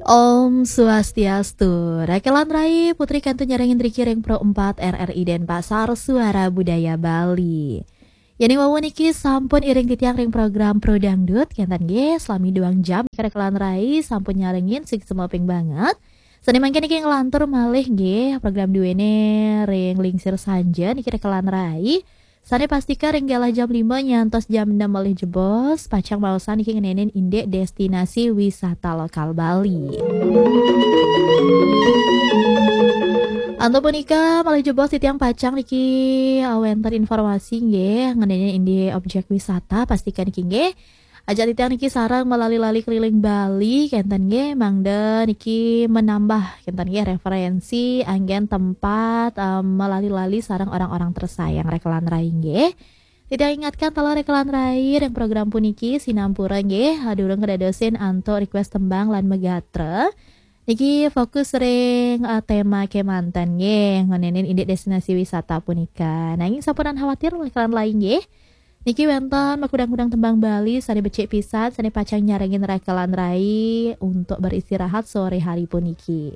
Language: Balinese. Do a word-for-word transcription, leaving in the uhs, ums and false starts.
Om Swastiastu. Rekelan Rai, Putri kantun nyarengin riki ring Pro empat R R I Denpasar, Suara Budaya Bali. Yen ing wau niki sampun iring titiang ring program Pro Dangdut, kenten nggih, selami duang jam niki Rekelan Rai sampun nyarengin, siki semaping banget. Sane mangkin niki nglantur malih nggih program duene ring lingsir sanja niki Rekelan Rai. Sane pastika ring galah jam lima nyantos jam enam malih jebos, pacang maosan niki ngenenin indik destinasi wisata lokal Bali. Antuk punika malih jebos titiang pacang niki, eh, wenten informasi nggih ngenenin indik objek wisata, pastika niki nggih ajak titiang niki sareng melali-lali keliling Bali, kenten nggih, mangda niki menambah kenten nggih referensi anggen tempat, em, melali-lali sareng orang-orang tersayang Rekelan Rai nggih. Titiang ingatkan taler Rekelan Rai ring program puniki sinampura nggih, durung kedadosin antuk request tembang lan megatra. Niki fokus ring, eh, tema kemanten nggih, ngenenin indik destinasi wisata punika. Nanging sampunang khawatir Rekelan Rai nggih. Niki wenten makudang-kudang tembang Bali sane becik pisan, sane pacang nyarengin Rekelan Rai untuk beristirahat sore hari puniki.